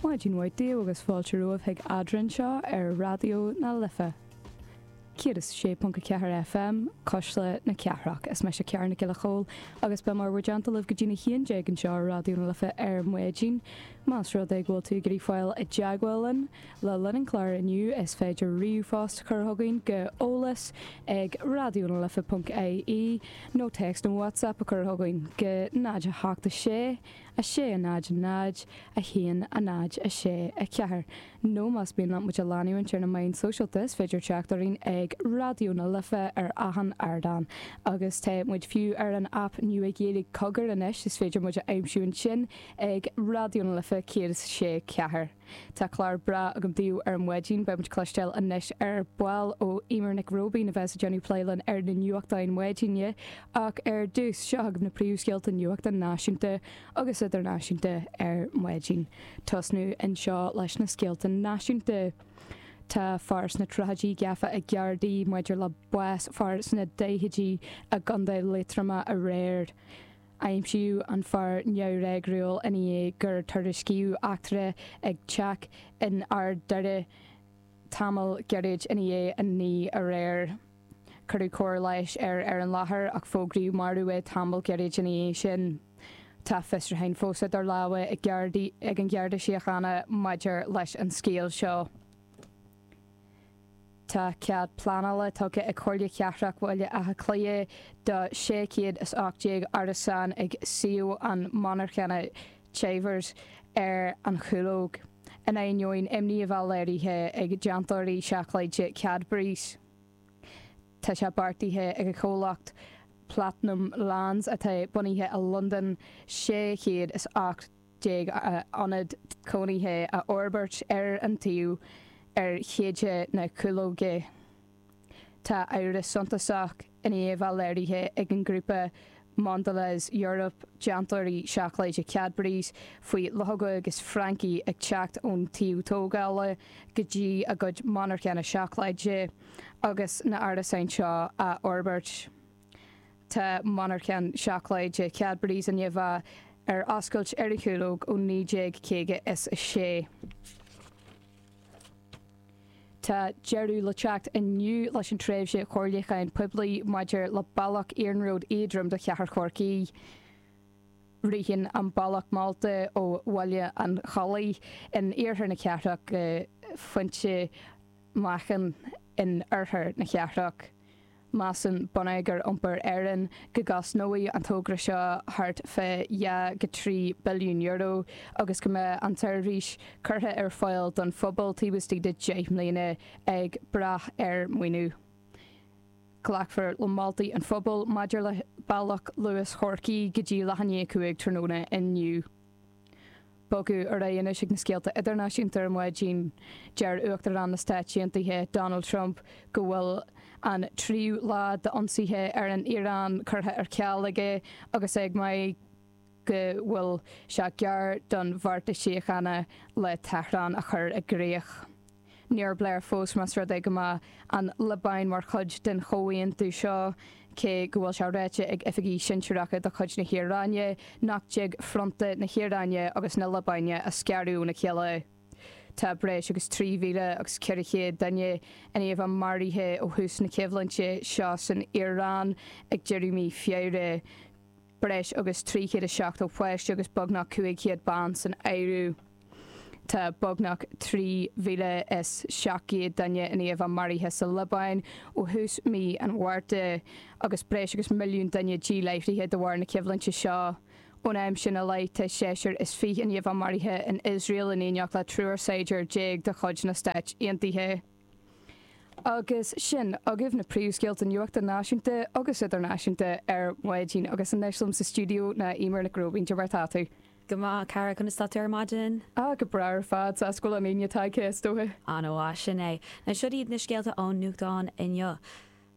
Maidin mhaith daoibh agus fáilte romhaibh chuig Eadrainn anseo ar Raidió na Life 106.4 FM, Cuisle na Cathrach. Is mise Ciara Nic Giolla Chóill agus beidh mé i bhur dteannta libh go dtí'n 11 anseo ar Raidió na Life ar maidin. Más rud é go bhfuil tú ag iarraidh fáil i dteagmháil linn le linn an chláir inniu is féidir ríomhphost a chur chugainn go eolas ag raidionalife.ie nó téacs nó WhatsApp a chur chugainn go 0 8 6 6 0 0 1 0 6 4 nó más mian leat muid a leanúint ar na meáin sóisialta is féidir teacht orainn ag Raidió na Life ar achan ardán. Agus tá muid fiú ar an aip nua Ghaeilge Cogar anois, is féidir muid a aimsiú ansin ag Raidió na Life 106 4. Tá clár breá agam daoibh ar maidin. Beidh muid cloisteáil anois ar ball ó Eimear Nic Róibín a bheas ag déanamh plé linn ar na nuachtáin maidine. Ach ar dtús, seo agaibh na príomhscéalta nuachta náisiúnta agus idirnáisiúnta ar maidin. Tosnú anseo leis na scéalta náisiúnta. Tá fear sna tríochaidí gafa ag Gardaí maidir le bás fear sna daichidí i gContae Liatroma aréir. Aimsíodh an fear neamhfhreagrúil i ndiaidh gur tuairiscíodh eachtra ag teach in Ard Doire tamall gairid i ndiaidh a 9 aréir. Cuireadh cóir leighis air ar an láthair ach fógraíodh marbh é tamall gairid ina dhiaidh sin. Tá fiosrúcháin fós idir lámha ag Gardaí ag an Gharda Síochána maidir leis an scéal seo. Tá cead pleanála tugtha ag Comhairle Chathrach Bhaile Átha Cliath do 618 árasán ag suíomh an monarchana Chivers ar an Chúlóg, in ainneoin imní a bheith léirithe ag déantóirí seacláide Cadbury's. Tá sé beartaithe ag an chomhlacht Platinum Lands, atá bunaithe i Londain, 618 ionad cónaithe a fhorbairt ar an tsuíomh ar Chéide na Cúlóige. Tá amhras suntasach i ndiaidh a bheith léirithe ag an ngrúpa Mondelez Europe, déantóirí seacláide Cadbury's, faoi luchóga agus francaigh ag teacht ón tsuíomh tógála go dtí a gcuid monarchana seacláide agus na árasáin seo á fhorbairt. Tá monarchan seacláide Cadbury's i ndiaidh a bheith ar oscailt ar an Chúlóg ó 1956. Tá deireadh le teacht inniu leis an tréimhse chomhairliúcháin poiblí maidir le bealach iarnróid éadroim do chathair Chorcaí. Ritheann an bealach molta ó Bhaile an Chollaigh in iarthar na cathrach go Pointe Meáchain in oirthear na cathrach. Measann Bonneagar Iompair Éireann go gcosnóidh an togra seo thart fá €2-3 billiún agus go mbeidh an tseirbhís curtha ar fáil don phobal taobh istigh de 10 mbliana, ag brath ar mhaoiniú. Glacfar le moltaí an phobail maidir le bealach Luas Chorcaí go dtí leath i ndiaidh 5 tráthnóna inniu. Bogadh ar aghaidh anois ag na scéalta idirnáisiúnta ar maidin. Deir Uachtarán na Stáit Aontaithe, Donald Trump, go bhfuil an tríú lá d'ionsaithe ar an Iaráin curtha ar ceal aige agus é ag maíomh go bhfuil sé gar don bheartas síochána le Tehran a chur i gcrích. Níor pléadh fós más rud é go mbeadh an Liobáin mar chuid den chomhaontú seo, cé go bhfuil sé ráite ag oifigigh shinsearacha de chuid na hIaráine nach dtig fronta na hIaráine agus na Liobáine a scaradh óna chéile. Tá breis agus 3,400 duine i ndiaidh a bheith maraithe ó thús na coimhlinte seo san Iaráin ag deireadh mí Feabhra, breis agus 370 páiste agus beagnach 500 bean san áireamh. Tá beagnach 3,700 duine i ndiaidh a bheith maraithe sa Liobáin ó thús mí an Mhárta agus breis agus milliún duine díláithrithe de bharr na coimhlinte seo. Ón am sin i leith, tá seisear is fiche i ndiaidh a bheith maraithe in Iosrael in éineacht le triúr saighdiúir de chuid na Stáit Aontaithe. Agus sin agaibh na príomhscéalta nuachta náisiúnta agus idirnáisiúnta ar maidin. Agus anois liom sa stiúideo ná Eimear Nic Róibín. Cad é mar atá tú? Go maith, a chara, conas tá tú ar maidin? Ah, go breá ar fad, sásta go bhfuil an Aoine tagtha, is dócha. An-mhaith, sin é. Now, siod iad na scéalta ón nuachtán inniu.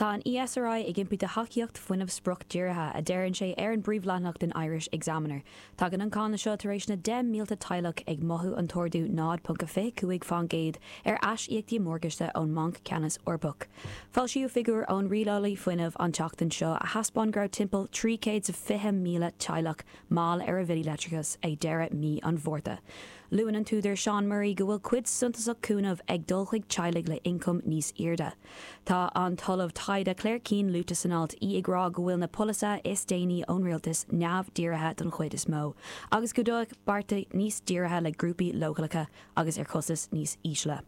Tá an ESRI ag impí do thacaíocht fuinnimh spriocdhírithe, a deireann sé ar an bpríomhleathanach den Irish Examiner. Tagann an cáineadh seo tar éis na 10,000 teaghlach ag mothú an t-ardú 0.25% ar aisíocaíochtaí morgáiste ón mBanc Ceannais Eorpach. Foilsíodh figiúir ón Rialálaí Fuinnimh an tseachtain seo a thaispeáin go raibh timpeall 320,000 teaghlach mall ar a bhillí leictreachais ag deireadh mí an Mhárta. Luann an t-údar Seán Murray go bhfuil cuid suntasach cúnamh ag dul chuig teaghlaigh le ioncam níos airde. Tá an tOllamh Taighde Claire Keane luaite san alt, í ag rá go bhfuil na polasaithe is déanaí ón rialtas neamh-dhírithe don chuid is mó, agus go gcuideodh bearta níos dírithe le grúpaí leochaileacha agus ar chostas níos ísle.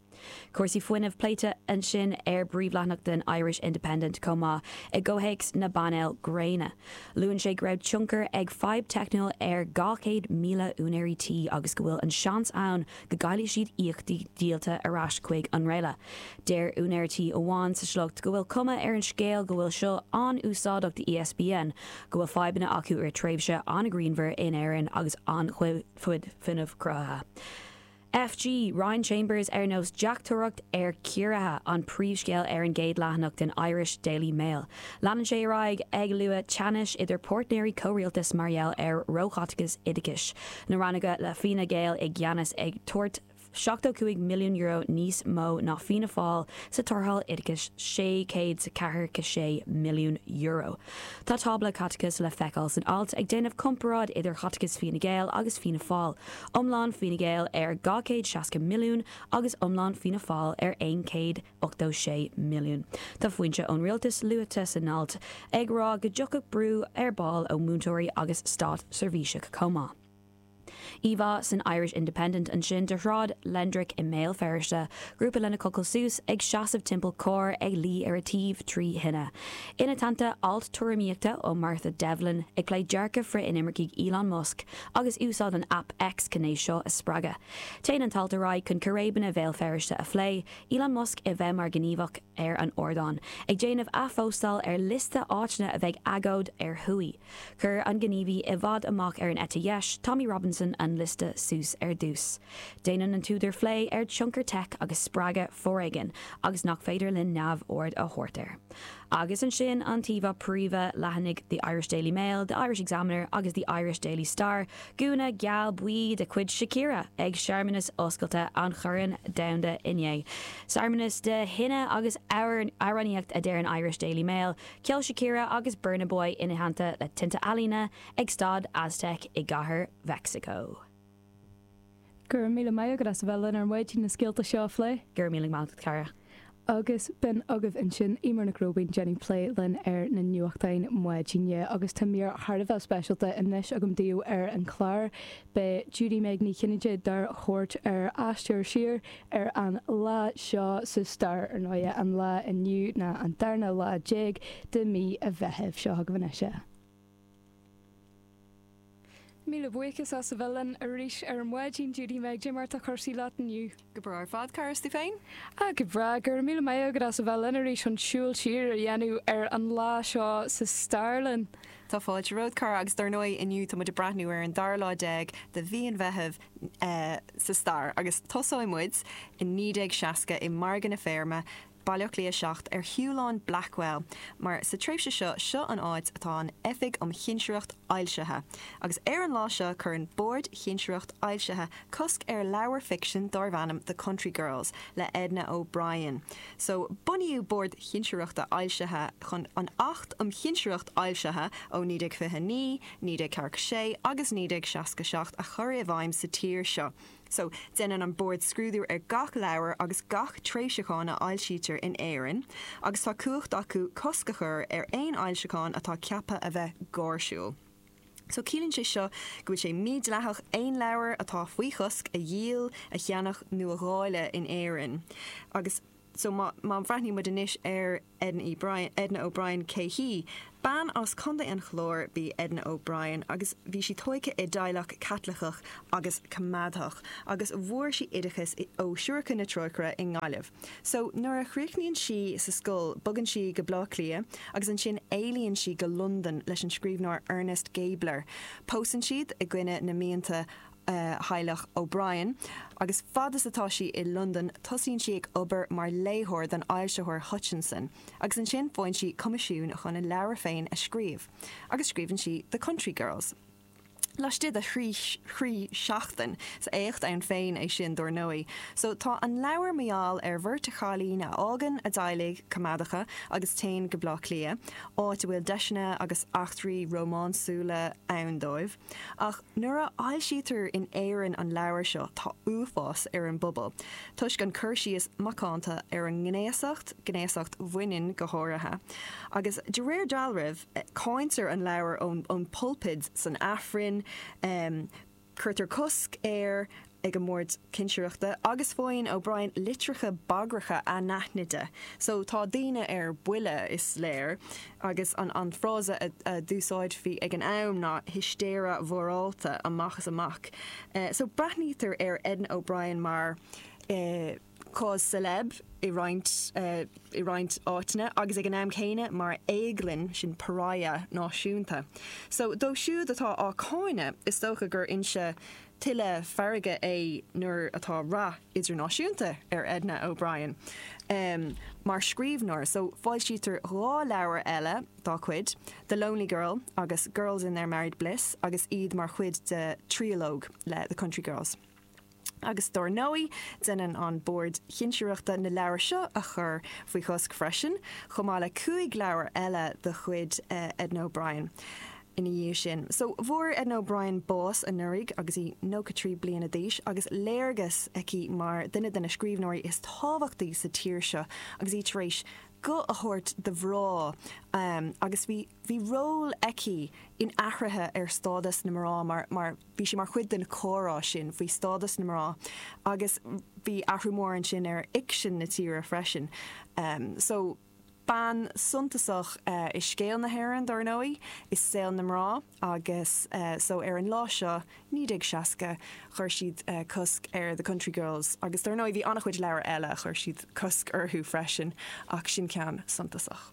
Cúrsaí fuinnimh pléite ansin ar bpríomhleathanach den Irish Independent chomh maith, i gcomhthéacs na bpainéal gréine. Luann sé go raibh tionchar ag fadhb teicniúil ar 200,000 úinéirí tí agus go bhfuil an seans ann go gcaillfidh siad íocaíochtaí díolta ar ais chuig an nGréille. Deir úinéir tí amháin sa sliocht go bhfuil cuma ar an scéal go bhfuil seo an-úsáideach do ESBN, go bhfuil fadhbanna acu i rith tréimhse an-ghrianmhar in Éirinn agus an-chuid fuinnimh cruthaithe. FG, Ryan Chambers ar nós deachtóireacht ar ciorruithe, an príomhscéal ar an gcéad leathanach den Irish Daily Mail. Leanann sé ar aghaidh ag lua teannais idir páirtnéirí comhrialtais mar gheall ar róchaiteachas oideachais. Na rannóga le Fine Gael i gceannas ag tabhairt €75 milliún níos mó ná Fianna Fáil sa tarrtháil oideachais €646 milliún. Tá tábla caiteachais le feiceáil san alt ag déanamh comparáid idir chaiteachas Fine Gael agus Fianna Fáil, iomlán Fine Gael ar 260 milliún agus iomlán Fianna Fáil ar 186 milliún. Tá foinse ón rialtas luaite san alt ag rá go dtiocfadh brú ar ball ó mhúinteoirí agus státseirbhísigh chomh maith. Íomhá san Irish Independent ansin de Shráid Lendrick i mBéal Feirste, grúpa lena cochall suas, ag seasamh timpeall carr ag luí ar a taobh trí thine. Ina theannta, alt tuairimíochta ó Martha Devlin ag plé dearcadh frith-inimircigh Elon Musk agus úsáid an aip X chun é seo a spreagadh. Téann an t-alt ar aghaidh chun círéibeanna Bhéal Feirste a phlé, Elon Musk a bheith mar ghníomhach ar an ardán, ag déanamh athphóstáil ar liosta áiteanna a bheidh agóid ar thuaidh. Chuir an gníomhaí i bhfad amach ar an eite dheis, Tommy Robinson, an liosta suas ar dtús. Déanann an t-údar phlé ar tionchar teic agus spreagadh foréigin agus nach féidir linn neamhaird a thabhairt air. Agus ansin an t-íomhá príomha, leathanaigh The Irish Daily Mail, The Irish Examiner agus The Irish Daily Star, gúna geal buí de chuid Shakira ag searmanas oscailte an Choirn Domhanda inné. Searmanas de thine agus amhránaíocht a deir an Irish Daily Mail, Ceol Shakira agus Burna Boy ina theannta le tinte ealaíne ag Staid Aztec i gCathair Mheicsiceo. Go raibh míle maith agat as a bheith linn ar maidin na scéalta seo a phlé. Go raibh míle maith agat, a chara. Agus b'in agaibh ansin Eimear Nic Róibín ag déanamh plé linn ar na nuachtáin maidine agus tá mír thar a bheith speisialta anois agam daoibh ar an chlár. Beidh Judy Meg Ní Chinnéide dár thabhairt ar aistear siar ar an lá seo sa stair, ar ndóighe, an lá inniu ná an darna lá déag de mí an Mheithimh. Seo chugaibh anois é. Míle buíochas as a bheith linn arís ar maidin, Judy Meg. Cad é mar atá cúrsaí leat inniu? Go breá ar fad, cara, is tú féin? Ah, go breá. Go raibh míle maith agat as a bheith linn arís chun siúl siar a dhéanamh ar an lá seo sa stair linn. Tá fáilte romhat, cara, agus dar ndóigh inniu tá muid ag breathnú ar an dara lá déag de mhí an Mheithimh sa stair agus tosóidh muid i 1960 i Margadh na Feirme, Baile Átha Cliath 7, ar Shiúlán Blackwell, mar sa tréimhse seo, seo an áit atá an Oifig um Chinsireacht Fhoilsithe. Agus ar an lá seo cuireann Bord Chinsireacht Fhoilsithe cosc ar leabhar ficsin dárbh ainm The Country Girls le Edna O'Brien. So, bunaíodh Bord Chinsireachta Fhoilsithe chun an Acht um Chinsireacht Fhoilsithe ó 1929, 1946 agus 1967 a chur i bhfeidhm sa tír seo. So, déanann an Bord scrúdú ar gach leabhar agus gach tréimhseachán a fhoilsítear in Éirinn agus tá cumhacht acu cosc a chur ar aon fhoilseachán atá ceaptha a bheith gáirsiúil. So, ciallaíonn sé seo go bhfuil sé mídhleathach aon leabhar atá faoi chosc a dhíol, a cheannach nó a dháileadh in Éirinn. Agus so, má má bhreathnaíonn muid anois ar Edna E. Brien, Edna O'Brien, cé hí? Bean as Contae an Chláir b'í Edna O'Brien agus bhí sí tóigthe i dteaghlach Caitliceach agus coimeádach agus bhfuair sí oideachas ó Siúracha na Trócaire i nGaillimh. So, nuair a chríochnaíonn sí sa scoil bogann sí go Bleá Cliath agus ansin éalaíonn sí go Londain leis an scríbhneoir Ernest Gabler. Pósann siad i gcoinne na mianta theaghlach O'Brien, agus fad is atá sí i Londain tosaíonn sí ag obair mar léitheoir don fhoilsitheoir Hutchinson, agus ansin faigheann sí coimisiún chun a leabhar féin a scríobh, agus scríobhann sí The Country Girls. Laistigh de thrí sheachtain. Is éacht ann féin é sin, dár ndóigh. So, tá an leabhar mar gheall ar bheirt chailín a fhágann a dteaghlaigh coimeádacha agus téann go Bleá Cliath, áit a bhfuil deiseanna agus eachtraí rómánsúla ann dóibh. Ach nuair a fhoilsítear in Éirinn an leabhar seo, tá uafás ar an bpobal, toisc an cur síos macánta ar an ngnéasacht, gnéasacht bhaineann go háirithe. Agus de réir dealraimh, Cáintear an leabhar ón bpulpid san Aifreann, cuirtear cosc air ag an mBord Cinsireachta agus faigheann O'Brien litreacha bagracha anaithnide. So tá daoine ar buile, is léir, agus an frása a d'úsáidfí ag an am ná histéire mhorálta amach is amach. So breathnaítear ar Edna O'Brien mar. cause célèbre i roinnt i roinnt áiteanna agus ag an am céanna mar éaglann, sin pariah náisiúnta. So dóibh siúd atá á cáineadh, is dócha gur fhoinse tuilleadh feirge é nuair atá rath idirnáisiúnta ar Edna O'Brien mar scríbhneoir. So foilsítear 2 leabhar eile dá cuid, The Lonely Girl agus Girls in Their Married Bliss agus iad mar chuid de thriológ le The Country Girls. Agus dár ndóigh, déanann an Bord Cinsireachta na leabhair seo a chur faoi chosc freisin, chomh maith le 5 leabhar eile de chuid Edna O'Brien ina dhiaidh sin. So, fuair Edna O'Brien bás anuraidh agus í 93 bliana d'aois agus léargas aici mar duine de na scríbhneoirí is tábhachtaí sa tír seo agus í tar éis guth a thabhairt do mhná agus bhí bhí ról aici in athruithe ar stádas na mná mar mar Bhí sí mar chuid den chomhrá sin faoi stádas na mná agus bhí athrú mór ansin ar fhicsean na tíre freisin. So, bean suntasach i scéal na hÉireann, dár ndóigh, i saol na mná agus so ar an lá seo, 1960, chuir siad cosc ar The Country Girls agus dár ndóigh bhí an-chuid leabhar eile a chuir siad cosc orthu freisin ach sin ceann suntasach.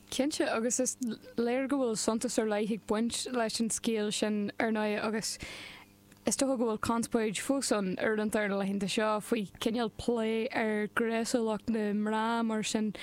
Cinnte, agus is léir go bhfuil suntas ar leith ag baint leis an scéal sin, ar ndóigh, agus is dócha go bhfuil conspóid fós ann uaireanta ar na laethanta seo faoi chineál plé ar ghnéasúlacht na mná mar sin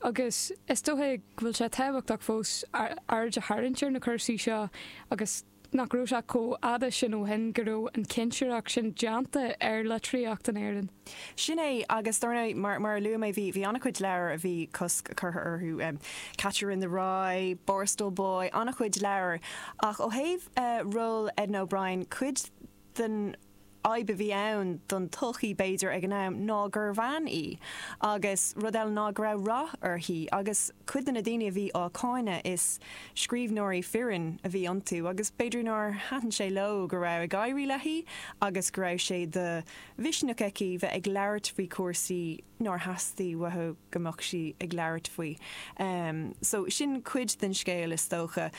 agus is dócha go bhfuil sé tábhachtach fós aird a tharraingt ar na cúrsaí seo agus nach raibh sé chomh fhada sin ó shin go raibh an chinsireacht sin déanta ar litríocht in Éirinn. Sin é, agus dar ndóigh, mar, mar a luaigh mé, bhí, bhí an-chuid leabhar a bhí cosc curtha orthu, Catcher in the Rye, Borstal Boy, an-chuid leabhar. Ach ó thaobh ról Edna O'Brien, cuid den fhadhb a bhí ann don tsochaí, b'fhéidir, ag an am, ná gur bhean í. Agus rud eile ná go raibh rath uirthi. Agus cuid de na daoine a bhí á cáineadh, is scríbhneoirí fireann a bhí iontu agus b'fhéidir nár thaitin sé leo go raibh ag éirí léi agus go raibh sé de mhisneach aici bheith ag labhairt faoi chúrsaí nár theastaigh uathu go mbeadh sí ag labhairt faoi. So sin cuid den scéal is dócha.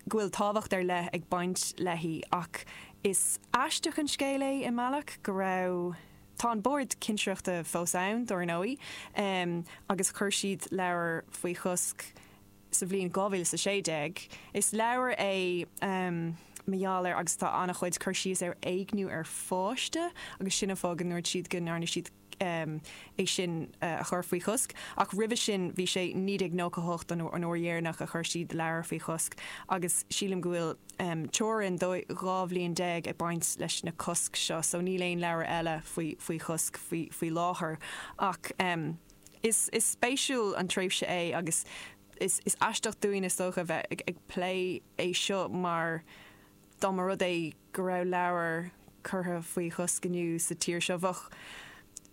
go bhfuil tábhacht ar leith ag baint léi ach is aisteach an scéal é i mbealach go raibh Tá an Bord Cinsireachta fós ann, dár ndóigh, agus chuir siad leabhar faoi chosc sa bhliain 2016. Is leabhar é mar gheall ar agus tá an-chuid cur síos ar éigniú ar pháiste agus sin an fáth go ndúirt siad go ndearna siad é sin a chur faoi chosc. Ach roimhe sin bhí sé 1998 an uair dheireanach a chuir siad leabhar faoi chosc agus sílim go bhfuil teorainn 12 bhliain ag baint leis na cosc seo so níl aon leabhar eile faoi faoi chosc faoi faoi láthair. Ach is is spéisiúil an tréimhse é agus is is aisteach dúinn is dócha bheith ag ag plé é seo mar dá mba rud é go raibh leabhar curtha faoi chosc inniu sa tír seo, bheadh,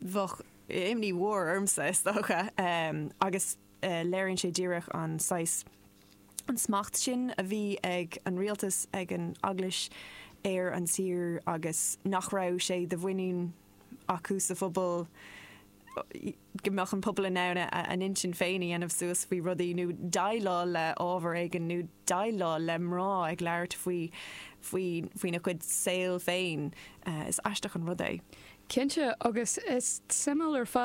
bheadh imní mhór ormsa, is dócha. Agus léiríonn sé díreach an saghas, an smacht sin a bhí ag an rialtas, ag an eaglais ar an tír agus nach raibh sé de mhuinín acu sa phobal go mbeadh an pobal in ann a n-intinn féin a dhéanamh suas faoi rudaí nó déileáil le ábhar éigin nó déileáil le mná ag labhairt faoi faoi faoina gcuid saol féin. Is aisteach an rud é. Cinnte, agus is suimiúil ar fad.